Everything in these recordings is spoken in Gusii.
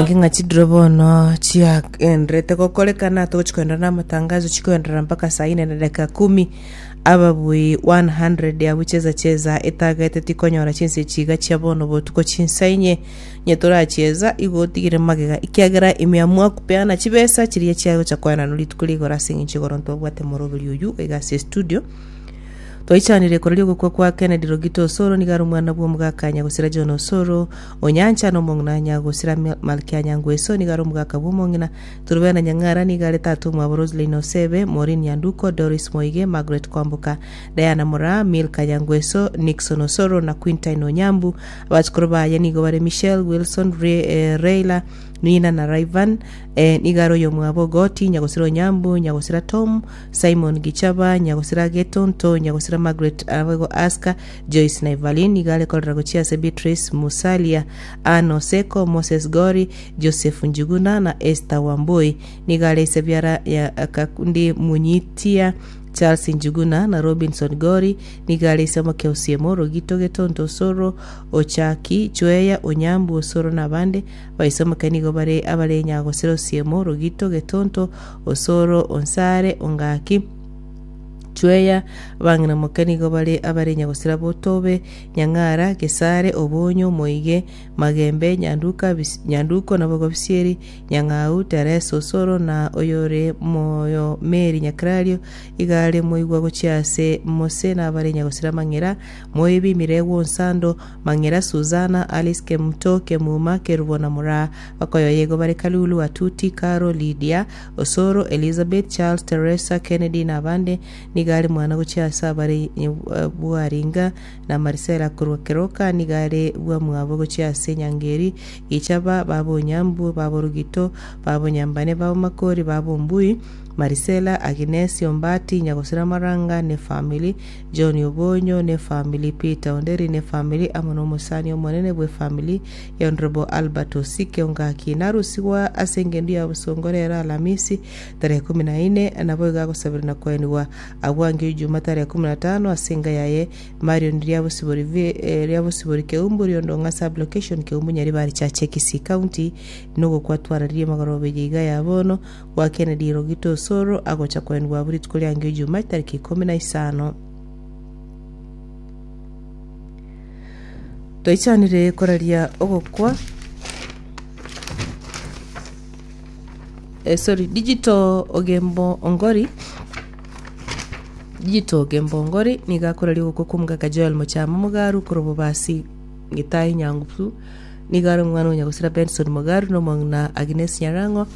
Toenenke ng'a chidiro bono chiagenderete gokorekana togochi koenderera na amatangazo chikoenderera mpaka saa ine na dakika kumi ababui 100 abwo cheza cheza etagete tikonyora chinsa echi iga chia bono botuko chinsa inye onye torachieza igo otigire magega ekiagera imeamua kupeana chibesa chiria chiagocha koenanwa rituko rigoro ase eng'encho igoro ntobwate moroberi oywo iga ase estudio Twaichanire koraria ogokwa kwa Kennedy Rogito Osoro nigo are omwana bw'omogaka Nyagosira John Osoro Onyancha na omong'ina Nyagosira Malkia Nyangweso nigo are omogaka bw'omong'ina Turubena Nyang'ara nigo are tata omwabo Roseline Osebe, Maureen Nyanduko, Doris Moige, Margaret Kwamboka, Diana Moraa, Milka Nyangweso, Nixon Osoro na Quintine Onyambu. Abachukuru baye nigo bare Michelle, Wilson, Reila, Nina na Rayvan. Nigo are oyomwabo Goti, Nyagosira Onyambu, Nyagosira Tom, Simon Gichaba, Nyagosira Getonto, Nyagosira Margaret, naboigo Aska, Joyce na Evaline. Nigo are korera gochia ase Beatrice Musalia, Ann Oseko, Moses Gori, Joseph Njuguna na Esther Wambui. Nigo are ise biara ya Kakundi Munyitia, Charles Njuguna na Robinson Gori. Nigo are ise moke Osiemo, Rogito Getonto Osoro, Ochaki, Chweya, Onyambu Osoro na abande. Abaise moke nigo bare abare Nyagosira Osiemo, Rogito Getonto, Osoro, Onsare, Ongaki, Chweya, abang'ina moke nigo bare abare Nyagosira Botobe, Nyang'ara, Gesare, Obonyo, Moige, Magembe, Nyanduka, Bisi- Nyanduko, naboigo Bisieri, Nyang'au, Teresa, Osoro, na oyore moyo Mary Nyakerario, iga are moigwa gochia ase Mose na abare Nyagosira Mang'era, Moibi, Miregwa, Onsando, Mang'era, Susana, Alice, Kemuto, Kemuma, Kerubo na Moraa. Bakoyoyia igo bare Kalulu, Atuti, Karo, Lydia, Osoro, Elizabeth, Charles, Teresa, Kennedy na abande. Nigo are mwana gochia ase abare Bwaringa na Marisela korwa Keroka, nigo are bwamwabo gochia ase Nyangeri, Gichaba, baba Onyambu, baba Orugito, baba Onyambane, baba Makori, baba Ombui, Marisela, Aginesi, Ombati, Nyagosira Maranga ne family, John Obonyo ne family, Peter Onderi ne family, amo nomosani omonene bwe family ya Honourable Albert Osike Ongaki. Narusigwa ase engendu ya bosongo rero Alamisi tarehe kumi na ine, naboigo agosabera na koenigwa agwo angio Ijuma tarehe kumi na tano ase enka yaye Marion Riabosibori Riabosibori Keumbu Riondong'a Sub Location Keumbu Nyaribari Chache Kisii County nogokwa twararirie magoroba eye iga ya bono gwa Kennedy Rogito Osoro agocha koenigwa abwo rituko riangio Ijuma chitariki ikomi na isano. Twaichanire koraria ogokwa eh, sorry digital ogembo ongori digital ogembo ongori nigo akoraria ogokwa kwa omogaka Joel Mochama Mogaru korwa Bobasi Gitae Nyangusu nigo are omwana o Nyagosira Benson Mogaru na omong'ina Agnes Nyarang'o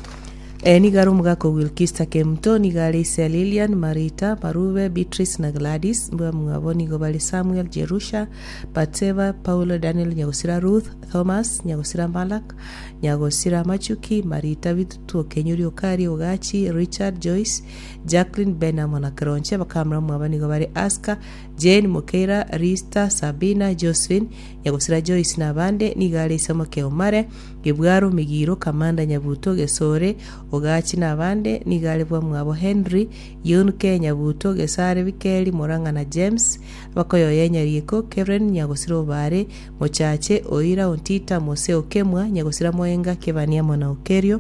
Eh, nigo are omogaka o Wilkista Kemuto, nigo are ise Lilian, Marita, Marube, Beatrice na Gladys. Mbamwabo nigo bare Samuel, Jerusha, Batseba, Paulo, Daniel, Nyagosira Ruth, Thomas, Nyagosira Malak, Nyagosira Machuki, Marita, Bitutu, Okenyuri, Okari, Ogachi, Richard, Joyce, Jacqueline, Ben amo na Keronche. Bakamura mwabo nigo bare Aska, Jane, Mokeira, Rista, Sabina, Josephine, Nyagosira Joyce na abande. Nigo are ise moke Omare, Gebwaro, Migiro, Kamanda, Nyabuto, Gesore, Ogachi na abande, nigo are bwamwabo Henry, Yunke, Nyabuto, Gesare, Bikeri, Morang'a na James, abakoyoyia Nyarieko, Kevren, Nyagosira Obare, Mochache, Oira, Ontita, Mose, Okemwa, Nyagosira Moenga, Kebani amo na Okerio.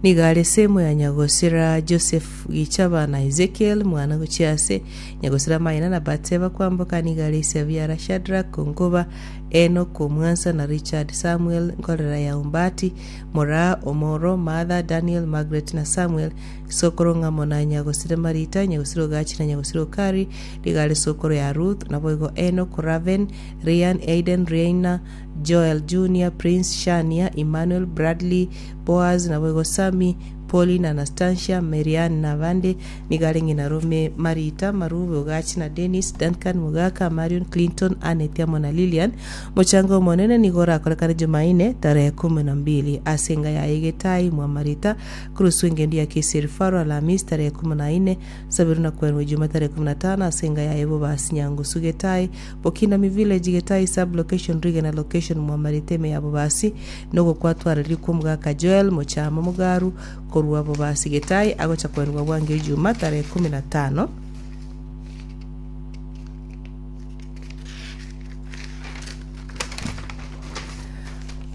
Nigo are semo ya Nyagosira Joseph Gichaba na Ezekiel, mwana gochia ase Nyagosira Maina na Batseba kwamboka nigo are ise biara Shadrack, Onkoba, Enock, Omwansa na Richard, Samuel, Nkorera ya Ombati, Moraa, Omoro, Martha, Daniel, Margaret na Samuel, Sokoro ng'amo na Nyagosira Marita, Nyagosira Ogachi na Nyagosira Okari, nigo are sokoro ya Ruth, naboigo Enock, Raven, Ryan, Aiden, Reina, Joel Junior, Prince, Shania, Emmanuel, Bradley, Boaz, naboigo Sammy, Pauline, Anastasia, Marianne na abande. Nigo are ng'ina Rome, Marita, Marube, Ogachi na Dennis, Duncan, Mogaka, Marion, Clinton, Annette amo na Lilian. Mochango omonene nigo orakorekane Jumaine tarehe kumi na mbili ase enga yaye Getai mwa Marita, Kurusu engendu ya Kisii Referral Alhamisi tarehe kumi na ine, Sabiru na kwenwa Ijuma tarehe kumi na tano ase enga yaye Bobasi Nyangusu Getai, Bokinami Village Getai Sub Location Rigena Location Mwamarete ime ya Bobasi nogokwatwareri kw'omogaka Joel Mochama Mogaru korwa Bobasi Getai agocha kwenwa bwango Ijuma tarehe kumi na tano.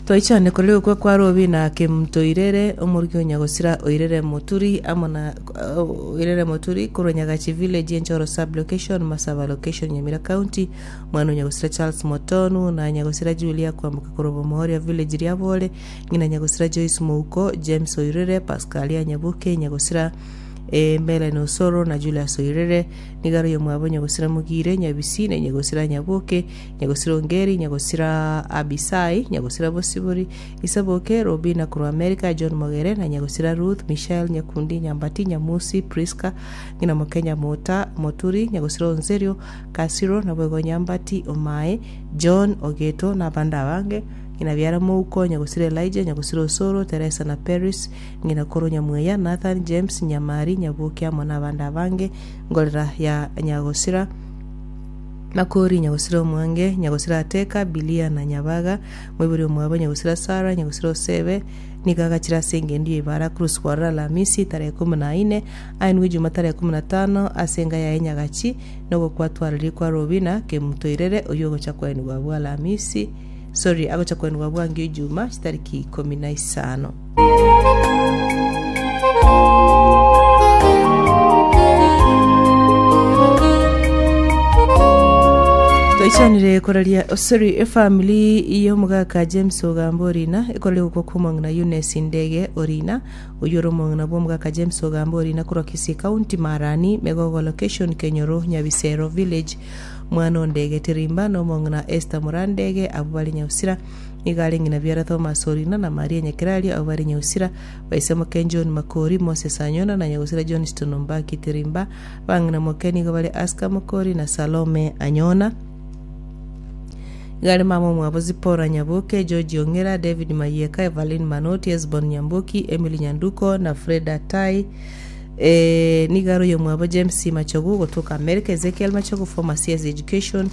Twaichane korera ogokwa kwa Robi na Kemunto Oirere, omorugi o Nyagosira Oirere Moturi, amo na Oirere Moturi korwa Nyagachi Village, Enchoro Sub-location, Masaba Location, Nyamira County, omwana o Nyagosira Charles Motonu na Nyagosira Julia kwamboka korwa Bomohoria Village Riabore, ng'ina Nyagosira Joyce Mouko, James Oirere, Pascalia Nyaboke, Nyagosira Melanie Osoro na Julius Oirere, nigo are oyomwabo Nyagosira Mogire, Nyabisi na Nyagosira Nyaboke, Nyagosira Ongeri, Nyagosira Abisai, Nyagosira Bosibori, Isaboke, Robina korwa Amerika, John Mogere, na Nyagosira Ruth, Michelle, Nyakundi, Nyambati, Nyamusi, Prisca, ng'ina moke Nyamota, Moturi, Nyagosira Onserio, Kasiro, naboigo Nyambati, Omae, John, Ogeto, na abande abange, ng'ina biara Mouko, Nyagosira Elijah, Nyagosira Osoro, Teresa na Peris, ng'ina koro Nyamweya, Nathan, James, Nyamari, Nyaboke amo nabande abange, ngorera ya Nyagosira, Makori, Nyagosira Omwange, Nyagosira Ateka, Bilia na Nyabaga, moibori omwabo Nyagosira Sara, Nyagosira Osebe, nigo agachire ase engendu y'eibara Cruz kwarora Alamisi tarehe ikomi na ine, aenigwe Ijuma tarehe 15 ase enga yaye Nyagachi, na ogokwatwararia kwa Robina Kemunto Irere oyio ogocha koenigwa abwo Alamisi, sorry, agocha koenigwa abwo angio Ijuma chitariki 15. Toichanire koraria sorry efamily y'omogaka James Ogamba Orina ekoraria gokwa kw'omong'ina Eunice Ndege Orina oyio ore omong'ina bw'omogaka James Ogamba Orina korwa Kisii County Marani Megogo Location Kenyoro Nyabisero Village mwana o Ndege Tirimba na omong'ina Esther Murandege abwo bare Nyausira Nigo are ng'ina biara Thomas Orina na Maria Nyakerario abwo bare Nyausira, baise moke John Makori, Moses Anyona na Nyagusira Johnston Ombaki Tirimba. Abang'ina moke nigo bare Aska Mokori na Salome Anyona. Nigo are mama omwabo Zipporah Nyaboke, George Ong'era, David Mayieka, Evaline Manoti, Esbon Nyamboki, Emily Nyanduko na Freda Tai. Eh, nigo are oyomwabo James Machogu gotoka America, Ezekiel Machogu, former CS Education,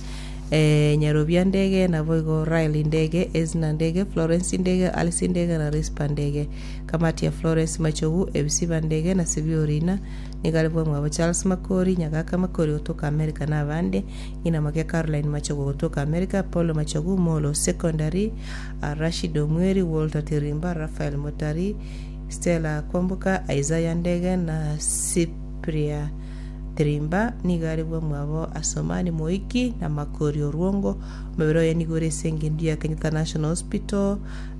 Nyarobia Ndege, naboigo Raeli Ndege, Ezna Ndege, Florence Ndege, Alice Ndege na Rispa Ndege. Kamati ya Florence Machogu, Ebisiba Ndege na Sibia Orina, nigo are bwamwabo Charles Makori, Nyagaka Makori gotoka America na abande, ng'ina moke Caroline Machogu gotoka America, Paulo Machogu, Molo Secondary, Rashid Omweri, Walter Tirimba, Raphael Motari, Stella Kwamboka, Isaiah Ndege na Cypria Tirimba nigo are bwamwabo Asomani Moiki na Makori Orwongo. Omobere oye nigo ore ase engendu ya Kenyatta National Hospital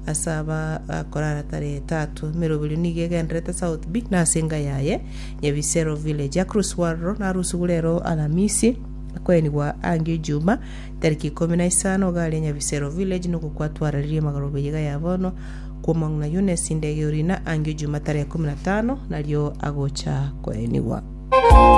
ase aba akorara tarehe tatu. Emeroberio nigo egendererete South B na ase enka yaye Nyabisero Village. Across Warro narusugwe rero Alamisi akoenigwa ange Ijuma tariki 15 iga aria Nyabisero Village nokwo kwatwararirie magoroba eyeiga ya bono kw'omong'ina Eunice Ndege Orina ange Ijuma tarehe 15 nario agocha koenigwa.